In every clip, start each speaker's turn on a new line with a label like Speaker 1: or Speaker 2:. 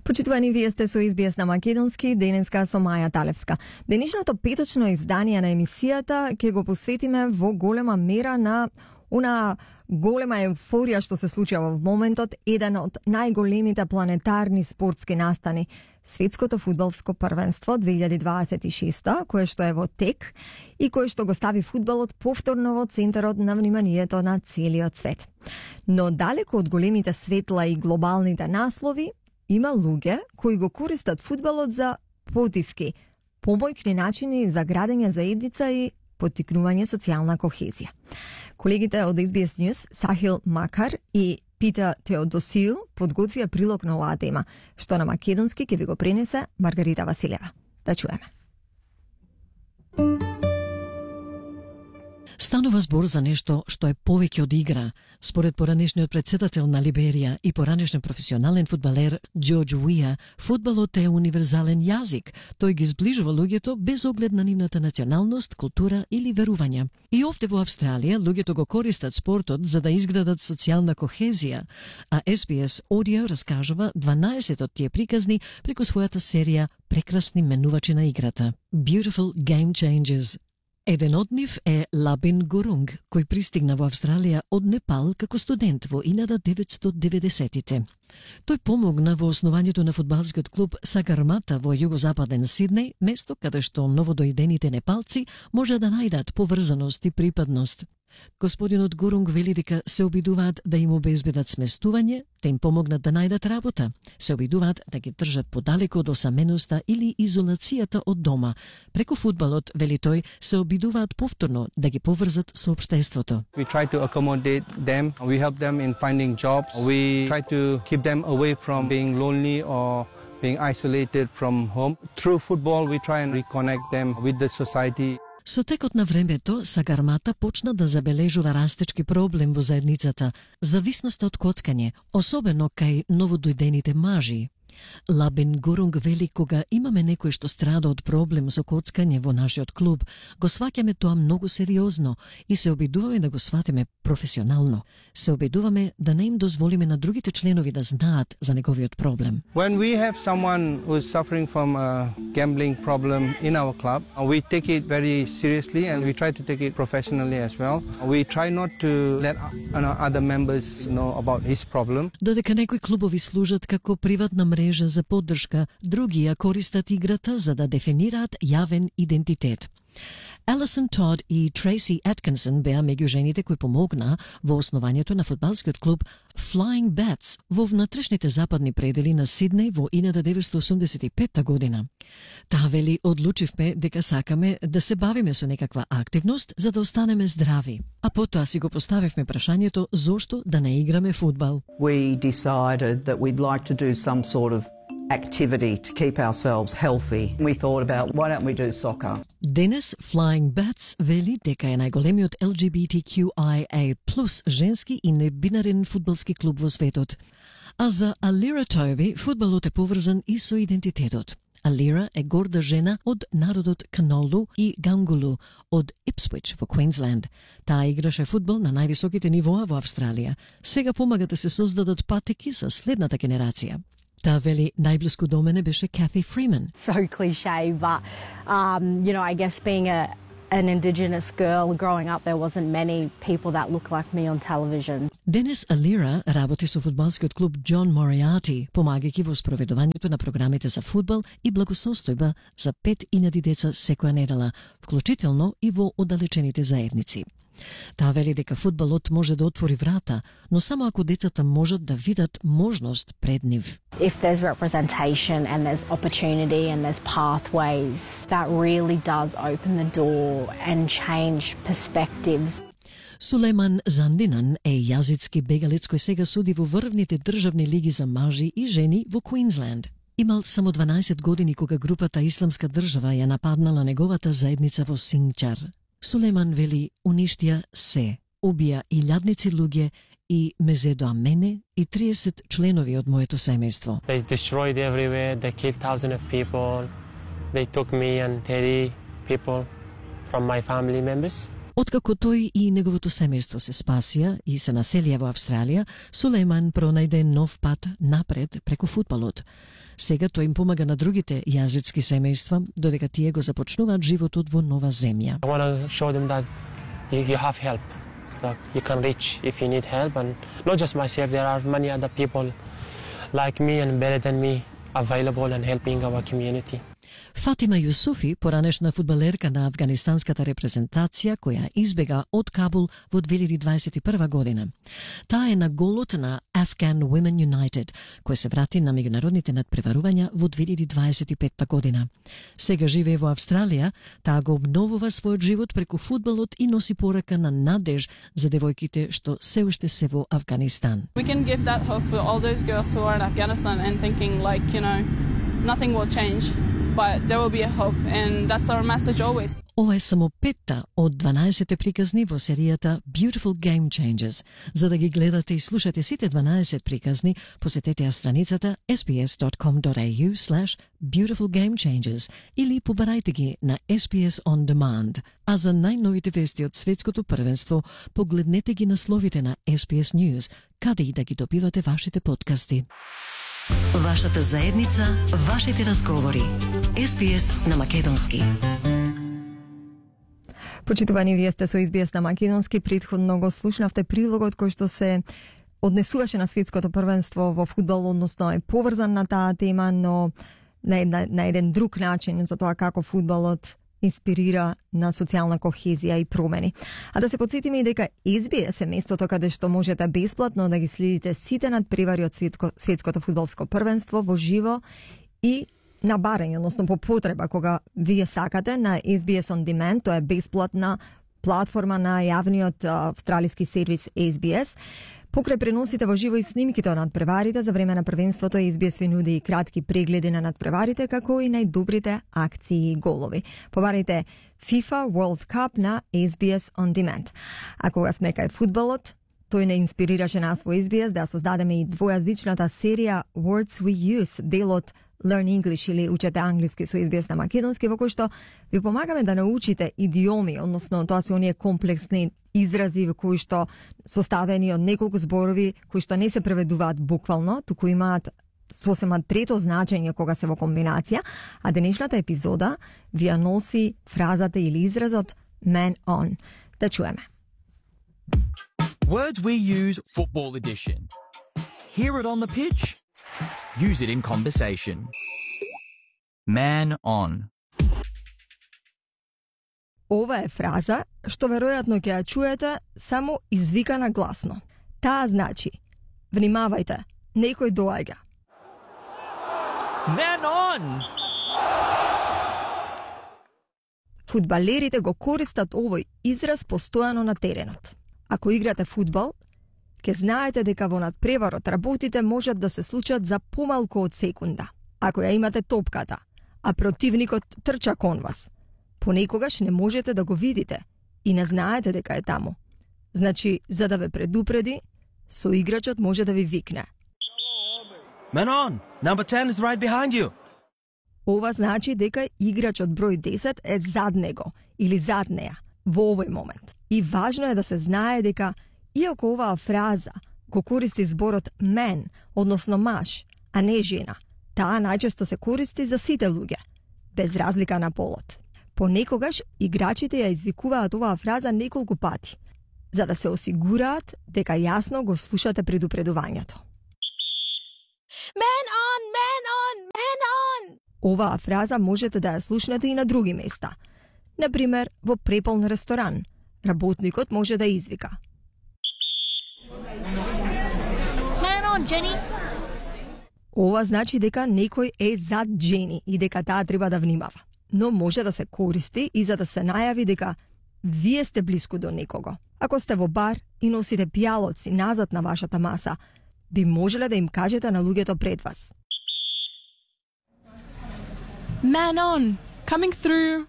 Speaker 1: Почитувани, вие сте со SBS на македонски, денеска со Маја Талевска. Денешното петочно издание на емисијата ќе го посветиме во голема мера на она голема еуфорија што се случува во моментот, еден од најголемите планетарни спортски настани, Светското фудбалско првенство 2026, кое што е во тек и кое што го стави фудбалот повторно во центарот на вниманието на целиот свет. Но далеко од големите светла и глобалните наслови, има луѓе кои го користат фудбалот за потивки, помојни начини за градење заедница и поттикнување социјална кохезија. Колегите од SBS News, Сахил Макар и Пита Теодосију, подготвија прилог на оваа тема, што на македонски ќе ви го пренесе Маргарита Василева. Да чуеме.
Speaker 2: Станува збор за нешто што е повеќе од игра. Според поранешниот претседател на Либерија и поранешен професионален фудбалер Џорџ Уија, фудбалот е универзален јазик. Тој ги сближува луѓето без оглед на нивната националност, култура или верувања. И овде во Австралија луѓето го користат спортот за да изградат социјална кохезија, а SBS Audio раскажува 12 од тие приказни преку својата серија Прекрасни менувачи на играта. Beautiful Game Changers. Еден од нив е Лабин Гурунг, кој пристигна во Австралија од Непал како студент во 1990-тите. Тој помогна во основањето на фудбалскиот клуб Сагармата во југозападен Сиднеј, место каде што новодојдените непалци може да најдат поврзаност и припадност. Господинот Гурунг вели дека се обидуваат да им обезбедат сместување, да им помогнат да најдат работа, се обидуваат да ги држат подалеку од осаменоста или изолацијата од дома. Преку фудбалот, вели тој, се обидуваат повторно да ги поврзат со општеството.
Speaker 3: We try to accommodate them, we help them in finding jobs, we try to keep them away from being lonely or being isolated from home. Through football, we try and reconnect them with the society.
Speaker 2: Со текот на времето, Сагармата почна да забележува растечки проблем во заедницата, зависноста од коцкање, особено кај новодојдените мажи. Лабин Гурунг вели, кога имаме некој што страда од проблем со коцкање во нашиот клуб, го сваќаме тоа многу сериозно и се обидуваме да го сватиме професионално. Се обидуваме да не им дозволиме на другите членови да знаат за неговиот проблем.
Speaker 3: When we have someone who is suffering from a gambling problem in our club, we take it very seriously and we try to take it professionally as well. We try not to let other members know about his problem.
Speaker 2: Додека некои клубови служат како приватна мрежа за поддршка, други ја користат играта за да дефинираат јавен идентитет. Алисон Тод и Трейси Аткинсон беа меѓу жените кои помогна во основањето на фудбалскиот клуб Flying Bats во внатрешните западни предели на Сиднеј во 1985 година. Таа вели, одлучивме дека сакаме да се бавиме со некаква активност за да останеме здрави. А потоа си го поставивме прашањето зошто да не играме фудбал.
Speaker 4: We decided that we'd like to do some sort of activity to keep ourselves healthy. We thought about why don't we do soccer?
Speaker 2: Денес Flying Bats вели дека е најголемиот LGBTQIA+ женски и небинарен фудбалски клуб во светот. А за Алира Тоби фудбалот е поврзан и со идентитетот. Алира е горда жена од народот Канолу и Гангулу од Ипсвич во Квинсленд. Таа играше фудбал на највисоките нивоа во Австралија. Сега помага да се создадат патеки за следната генерација. Таа вели, најблиску до мене беше Кати Фриман.
Speaker 5: So cliche, but I guess being an Indigenous girl growing up, there wasn't many people that looked like me on television.
Speaker 2: Денес Алира работи со фудбалскиот клуб Џон Моријати, помагајќи во спроведувањето на програмите за фудбал и благосостојба за 5.000 деца секоја недела, вклучително и во оддалечените заедници. Таа вели дека фудбалот може да отвори врата, но само ако децата можат да видат можност пред нив.
Speaker 5: If there's representation and there's opportunity and there's pathways, that really does open the door and change perspectives.
Speaker 2: Сулейман Зандинан е јазицки бегалец кој сега суди во врвните државни лиги за мажи и жени во Квинсленд. Имал само 12 години кога групата Исламска држава ја нападнала неговата заедница во Сингчар. Сулейман вели, уништија се, убија илјадници луѓе и ме зедоа мене и 30 членови од моето семејство.
Speaker 6: They destroyed everywhere, they killed thousands of people. They took me and 30 people from my family members.
Speaker 2: Откако тој и неговото семејство се спасија и се населија во Австралија, Сулејман пронајде нов пат напред преку фудбалот. Сега тој им помага на другите јазички семејства, додека тие го започнуваат животот во нова земја.
Speaker 6: I want to show them that you have help. Like you can reach if you need help, and not just myself. There are many other people like me and better than me available and helping our community.
Speaker 2: Фатима Јусуфи, поранешна фудбалерка на афганистанската репрезентација која избега од Кабул во 2021 година. Таа е на голот на Afghan Women United, кој се врати на меѓународните надпреварувања во 2025 година. Сега живее во Австралија, таа го обновува својот живот преку фудбалот и носи порака на надеж за девојките што се уште се во Афганистан.
Speaker 7: We can give that hope for all those girls who are in Afghanistan and thinking like, nothing will change. But there will be a hope, and that's our message always.
Speaker 2: Ова е само 5 од 12 приказни во серијата Beautiful Game Changers. За да ги гледате и слушате сите 12 приказни, посетете ја страницата sbs.com.au/beautifulgamechangers или побарајте ги на SBS On Demand. А за најновите вести од светското првенство, погледнете ги насловите на SBS News, каде и да ги добивате вашите подкасти. Вашата заедница, вашите разговори. SBS на македонски.
Speaker 1: Почитувани, вие сте со SBS на македонски. Претходно го слушнавте прилогот кој што се однесуваше на светското првенство во фудбал, односно е поврзан на таа тема, но на еден друг начин за тоа како фудбалот инспирира на социјална кохезија и промени. А да се подсетиме и дека SBS е местото каде што можете бесплатно да ги следите сите надпревари од светското фудбалско првенство во живо и на барање, односно по потреба кога вие сакате на SBS On Demand. Тоа е бесплатна платформа на јавниот австралиски сервис SBS. Покрај преносите во живо и снимките од надпреварите за време на првенството, SBS ви нуди и кратки прегледи на надпреварите, како и најдобрите акции и голови. Побарайте FIFA World Cup на SBS On Demand. А кога сме кај фудбалот, тој не инспирираше нас во SBS да создадеме и двојазичната серија Words We Use, дел од Learn English или Учете англиски со SBS на македонски, во кој што ви помагаме да научите идиоми, односно тоа се оние комплексни изрази кои што составени од неколку зборови кои што не се преведуваат буквално, туку имаат сосема трето значење кога се во комбинација, а денешната епизода ви ја носи фразата или изразот man on. Да чуеме.
Speaker 8: Words we use, football edition. Hear it on the pitch. Use it in conversation. Man on.
Speaker 1: Ова е фраза што веројатно ќе ја чуете само извикана гласно. Таа значи: внимавајте, некој доаѓа.
Speaker 8: Man on!
Speaker 1: Фудбалерите го користат овој израз постојано на теренот. Ако играте фудбал, ќе знаете дека во надпреварот работите можат да се случат за помалку од секунда. Ако ја имате топката, а противникот трча кон вас, понекогаш не можете да го видите и не знаете дека е таму. Значи, за да ве предупреди, соиграчот може да ви викне:
Speaker 9: Man on! Number 10 is right behind you!
Speaker 1: Ова значи дека играчот број 10 е зад него или зад неа во овој момент. И важно е да се знае дека иако оваа фраза го користи зборот man, односно маж, а не жена, таа најчесто се користи за сите луѓе, без разлика на полот. Понекогаш играчите ја извикуваат оваа фраза неколку пати, за да се осигураат дека јасно го слушате предупредувањето.
Speaker 10: Man on, man on, man on!
Speaker 1: Оваа фраза можете да ја слушнете и на други места. Например, во преполн ресторан, работникот може да извика:
Speaker 10: Man on, Jenny!
Speaker 1: Ова значи дека некој е зад Джени и дека таа треба да внимава. Но може да се користи и за да се најави дека вие сте блиску до некого. Ако сте во бар и носите пијалоци назад на вашата маса, би можеле да им кажете на луѓето пред вас:
Speaker 7: Man on! Coming through!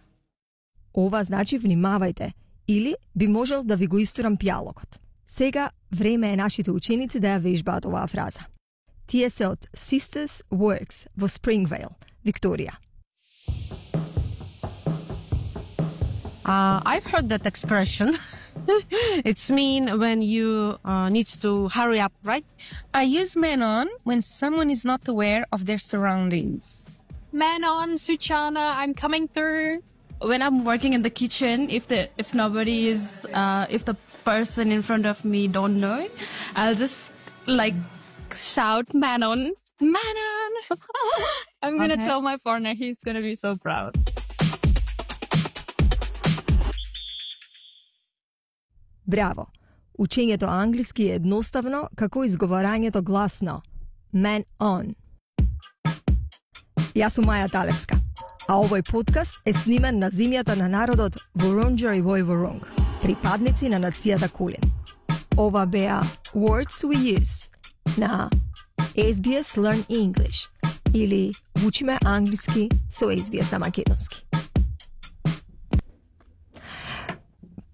Speaker 1: Ова значи внимавајте, или би можел да ви го истурам пијалокот. Сега време е нашите ученици да ја вежбаат оваа фраза. Тие се од Sisters Works во Springvale, Викторија.
Speaker 11: I've heard that expression. It's mean when you need to hurry up, right?
Speaker 12: I use man on when someone is not aware of their surroundings.
Speaker 10: Man on, Suchana, I'm coming through.
Speaker 12: When I'm working in the kitchen, if the person in front of me don't know it, I'll just like shout man on. Man on. I'm gonna tell my partner, he's gonna be so proud.
Speaker 1: Браво! Учењето англиски е едноставно како изговорањето гласно. Man on. Јас сум Маја Талевска, а овој подкаст е снимен на земјата на народот Вурунџер и Војворунг, припадници на нацијата Кулин. Ова беа Words We Use на SBS Learn English или Учиме англиски со SBS на македонски.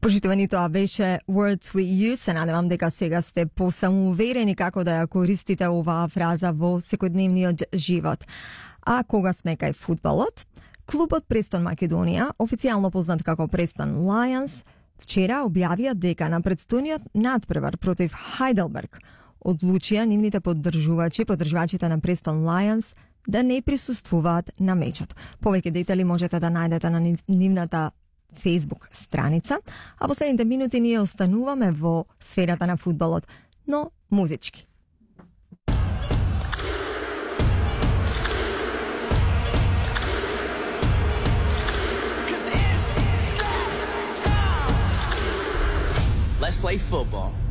Speaker 1: Почитувани, тоа беше Words We Use. Се надевам дека сега сте посамоуверени како да ја користите оваа фраза во секојдневниот живот. А кога сме кај фудбалот, клубот Престон Македонија, официјално познат како Престон Lions, вчера објавија дека на предстојниот надпревар против Хайделберг одлучија нивните поддржувачите на Престон Lions да не присуствуваат на мечот. Повеќе детали можете да најдете на нивната Facebook страница, а последните минути ние остануваме во сферата на фудбалот, но музички.
Speaker 13: Let's play football.